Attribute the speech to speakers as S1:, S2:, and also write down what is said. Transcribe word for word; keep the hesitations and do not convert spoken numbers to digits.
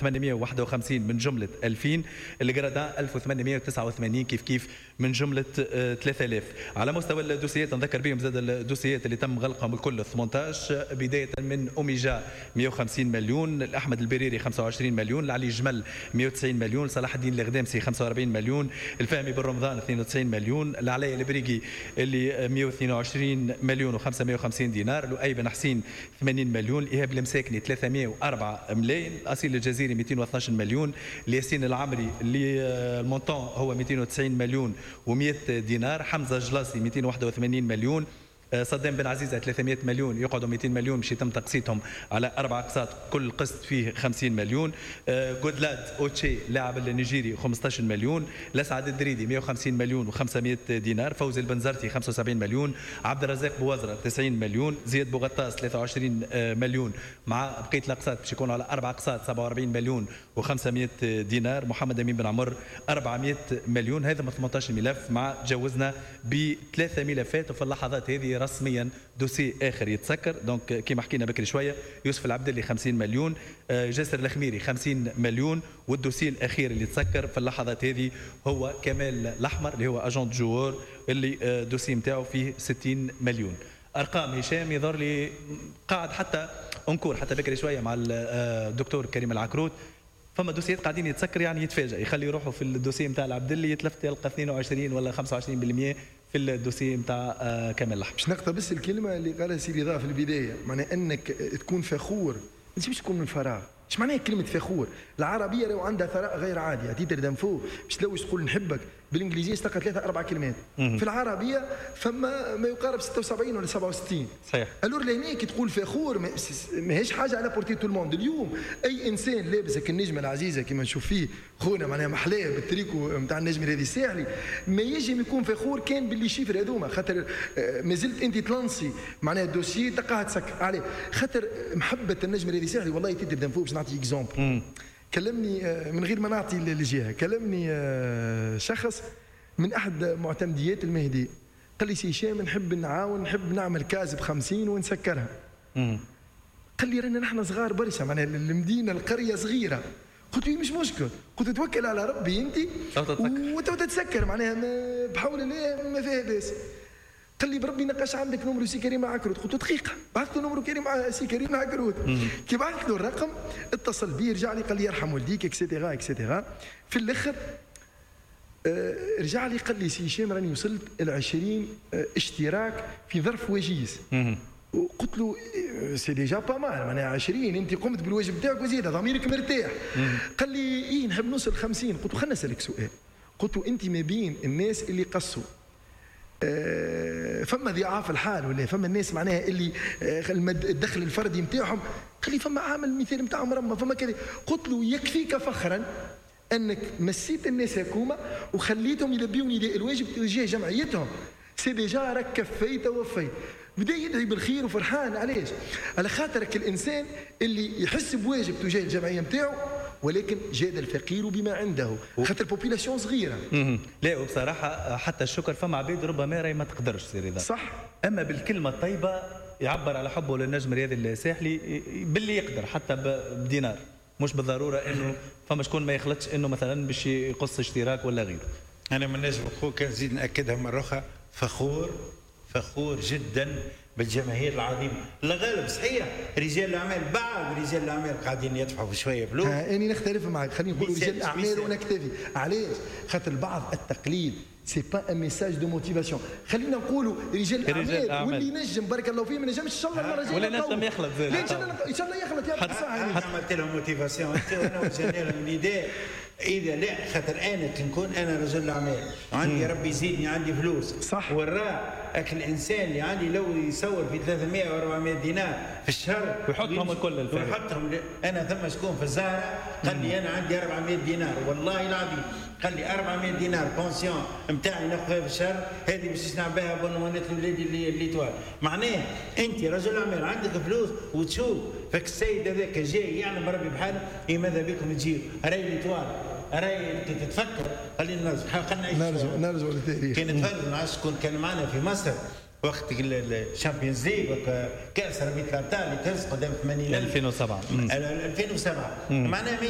S1: ثمانمئة وواحد وخمسين من جملة ألفين، ال gradins ألف وثمانمئة وتسعة وثمانين كيف كيف من جملة ثلاثة آلاف. على مستوى الدوسيات نذكر بهم زاد الدوسيات اللي تم غلقهم الكل ثمانية عشر، بداية من أوميجا مئة وخمسين مليون، الأحمد البريري خمسة وعشرين مليون، العلي جمل مئة وتسعين مليون، صلاح الدين الغدامسي خمسة وأربعين مليون، الفهمي بن رمضان اثنين وتسعين مليون، العلي البريقي اللي مئة واثنين وعشرين مليون وخمسمئة وخمسين دينار، لؤي بن حسين ثمانين مليون، إيهاب المساكني ثلاثمئة وأربعة ملايين، أصيل الجزيري مئتين واثناش مليون، الياسين العمري اللي ال montant هو مئتين وتسعين مليون ومئة دينار، حمزة الجلاصي مئتين وواحد وثمانين مليون، صدام بن عزيزة ثلاثمئة مليون، يقعدوا مئتين مليون باش يتم تقسيطهم على أربع أقساط، كل قسط فيه خمسين مليون، جودلاد أوتشي لاعب النيجيري خمسطاش مليون، لسعد الدريدي مئة وخمسين مليون وخمسمئة دينار، فوزي البنزرتي خمسة وسبعين مليون، عبد الرزاق بوزرة تسعين مليون، زياد بوغطاس ثلاثة وعشرين مليون، مع بقية الأقساط باش يكونوا على أربع أقساط سبعة وأربعين مليون وخمسمئة دينار، محمد أمين بن عمر أربعمئة مليون. هذا من ثمانية عشر ملف مع تجاوزنا بثلاثة ملفات، وفي اللحظات هذه رسميا dossier اخر يتسكر. donc كيما حكينا بكري شويه، يوسف العبدلي خمسين مليون، جاسر الخميري خمسين مليون، وال dossier الاخير اللي تسكر في اللحظات هذه هو كمال الاحمر اللي هو agent joueur اللي dossier نتاعو فيه ستين مليون. ارقام هشام يظهر لي قاعد حتى encore حتى بكري شوية مع الدكتور كريم العكروت، فما دوسيات قاعدين يتسكر، يعني يتفاجئ يخلي روحه في ال dossier نتاع العبدلي يتلفت يلقى اثنين وعشرين ولا خمسة وعشرين بالمئة في ال dossier نتاع كمال الاحمر.
S2: باش نقتبس الكلمة اللي قالها سي رضا في البدايه، معناها انك تكون فخور، انت باش تكون من فراغ. ايش معناها كلمة فخور؟ العربية لو عندها ثراء غير عادي، à titre d'info باش تلوج تقول نحبك بالانجليزية تلقى ثلاثة أربع كلمات، في العربية فما ما يقارب ستة وسبعين ولا سبعة وستين.
S1: صحيح.
S2: alors لهنا كي تقول فخور ماهيش حاجة à la portée tout le monde. اليوم أي إنسان لابس النجمة العزيزة كما نشوف فيه خونا معناها محلاه بالتريكو نتاع النجم الرياضي الساحلي، ما يجم يكون فخور كان ب les chiffres هذوما، خاطر آه، مازلت أنت تلانسي معناها ال dossier تلقاها تسكر عليه، خاطر محبة النجم الرياضي الساحلي. والله à titre d'info باش نعطي exemple، كلمني آه، من غير ما نعطي الجهه، كلمني آه، شخص من احد معتمديات المهدي، قال لي سي هشام نحب نعاون، نحب نعمل case ب خمسين ونسكرها. قال لي رانا نحن صغار برشا، معناها المدينة القرية صغيره. قلت له مش مشكل، قلت توكل على ربي انت وتو تتسكر، معناها بحول الله ما فيها باس. قال لي بربي نقاش عندك numéro سي كريم عكروت؟ قلت له دقيقه، بعثت له numéro كريم سي كريم عكروت. كي بعثت له الرقم اتصل بي، رجع لي قال لي يرحم والديك et cetera et cetera. في الاخر آه، رجع لي قال لي سي هشام راني وصلت ل عشرين آه، اشتراك في ظرف وجيز. قلت له c'est déjà pas mal، معناها عشرين انت قمت بالواجب بتاعك وزيد ضميرك مرتاح. قال لي ايه نحب نوصل خمسين. قلت له خلينا نسالك سؤال، قلت له انت ما بين الناس اللي قصوا آه، فما ضعاف الحال ولا فما الناس معناها اللي آه، الدخل الفردي نتاعهم؟ قال لي فما عامل مثال نتاع مرمى فما كذا. قلت له يكفيك فخرا انك مسيت الناس هكوما وخليتهم يلبيوا نداء الواجب تجاه جمعيتهم، c'est déjà راك كفيت ووفيت. بدا يدعي بالخير وفرحان. علاش؟ على خاطرك الانسان اللي يحس بواجب تجاه الجمعية نتاعو، ولكن جاد الفقير بما عنده، خاطر population صغيره.
S1: لا وبصراحة حتى الشكر فما عباد ربما راهي ما تقدرش سي رضا.
S2: صح.
S1: اما بالكلمة الطيبة يعبر على حبه للنجم الرياضي الساحلي باللي يقدر حتى بدينار، مش بالضرورة انه فما شكون ما يخلطش انه مثلا باش يقص اشتراك ولا غيره.
S3: انا من نجم خوك نزيد ناكدها مرة اخرى، فخور فخور جدا بالجماهير العظيمه. الغالب صحيح رجال الاعمال، بعض رجال الاعمال قاعدين يدفعوا في شوية فلوس.
S2: اني نختلف معك، خلينا نقولوا رجال الاعمال ونكتفي. علاش؟ خاطر البعض التقليد c'est pas un message de motivation. خلينا نقولوا رجال الاعمال، واللي ينجم بارك الله فيه، ما نجمش ان شاء الله المرة الجاية.
S1: ولا نجم يخلط
S2: زاد. ان شاء الله ان شاء الله يخلط يا
S3: حتى عملت لهم motivation انت وانا وجهنا لهم نداء. اذا لا خاطر انا نكون انا رجل اعمال وعندي ربي يزيدني عندي فلوس.
S2: صح.
S3: والراء اكل الانسان اللي عندي لو يصور في ثلاثمية و أربعمية دينار في الشهر
S1: ويحطهم الكل
S3: الفريق ويحطهم. انا ثم شكون في الزهرة قال لي انا عندي أربعمية دينار، والله العظيم قال لي أربعمية دينار pension نتاعي ناخذها في الشهر، هذه باش نصنع بها abonnement ات لولادي اللي l'Étoile. معناه انت رجل اعمال عندك فلوس وتشوف فك السيد هذاك جاي يعلم ربي بحاله، إيه ماذا بكم تجيو راي l'Étoile راي تتفكر. خلينا نرجع
S2: خلينا نرجع نرجع للتاريخ.
S3: كان نتفرج مع شكون كان معنا في مصر وقت ال Champions League كاس رابطه الابطال اللي تهز قدام ثمانين
S1: ألفين وسبعة.
S3: ألفين وسبعة معناها.